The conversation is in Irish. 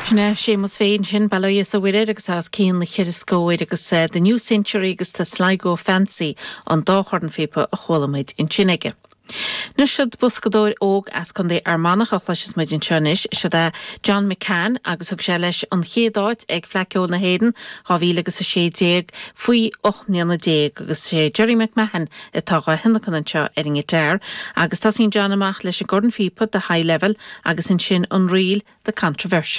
Sin é Séamus féin sin, bail ó Dhia is a Mhuire air agus os cionn na cheithre scóir agus The New Century agus The Sligo Fancy an dá chornphíopa a chuala muid ansin aige. Anois siod boscadóir óg as Contae Fhear Manach a chloisfeas muid anseo anois. Siod é John McCann agus thug sé leis an chéad áit ag Fleadh Ceoil na hÉireann 2016 faoi 18 mbliana agus sé Gerry McMahon atá dhá thionlacan anseo ar an ngiotár agus tosaíonn John amach leis an gcornphíopa The High Level agus ansin an ríl The Controversial.